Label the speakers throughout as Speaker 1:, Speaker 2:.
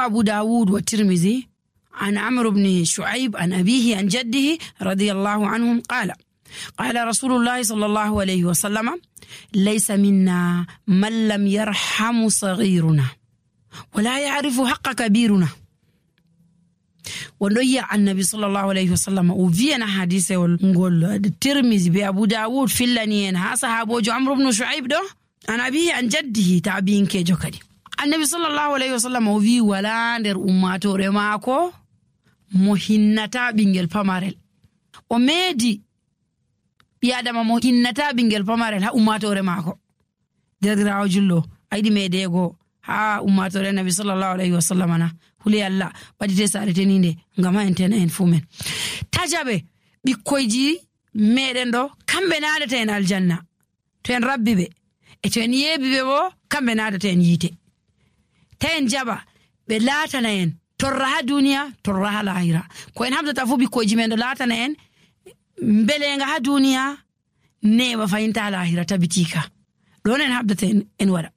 Speaker 1: أبو داود والترمذي عن عمرو بن شعيب عن أبيه عن جده رضي الله عنهم قال رسول الله صلى الله عليه وسلم ليس منا من لم يرحم صغيرنا ولا يعرف حق كبيرنا. ونويا النبي صلى الله عليه وسلم وفينا حديثه ونقول الترمذي بأبو داود في اللنين ها صحابه عمرو بن شعيب ده عن أبيه عن جده تابين كيجو كدي. النبي صلى الله عليه وسلم وفي ولا ندر أمته رماكو مهنتا بينجل فمارل وميدي بيادما مهنتا بينجل فمارل ها أمته رماكو درراو جلو أيدي ميديغو ها أمته النبي صلى الله عليه وسلم أنا هولي الله بدي تسارتني ني ngama entena en fumen tajabe bikkoyji meden do kambe naadata en aljanna to en rabbibe e to en yebibe bo kambe naadata en yite ta en jaba be latana en torra ha duniya torra ha lahira ko en hamdata fu bikkoyji men do latana en belenga ha duniya ne ba fayinta lahira tabitika don en habdata en wada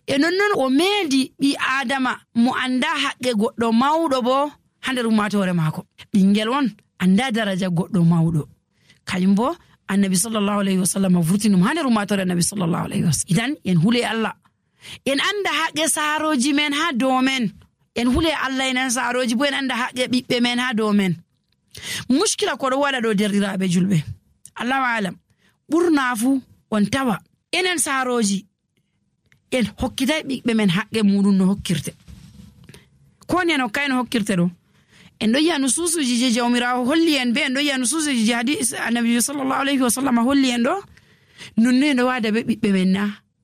Speaker 1: e non o meedi bi adama mo anda haqqe goddo mawdo bo hander umatore mako bingel won anda daraja goddo mawdo kayumbo annabi sallallahu alaihi wasallam vurtinum hander umatore annabi sallallahu alaihi wasallam idan en hule Allah en anda haqqe saroji men ha do men en hule Allah en saroji bo en anda haqqe bibbe men ha do men mushkila ko do wada do derdiraabe julbe Allah alam burnafu on tawa enen saroji en hokkitay bibbe men haqqe mudun no hokkirte ko ne no kayno hokkirte do en do ya nususuji je jawmirawo holli en be en do ya nususuji hadith annabi sallallahu alaihi wasallam holli en do nonne no wada be bibbe men na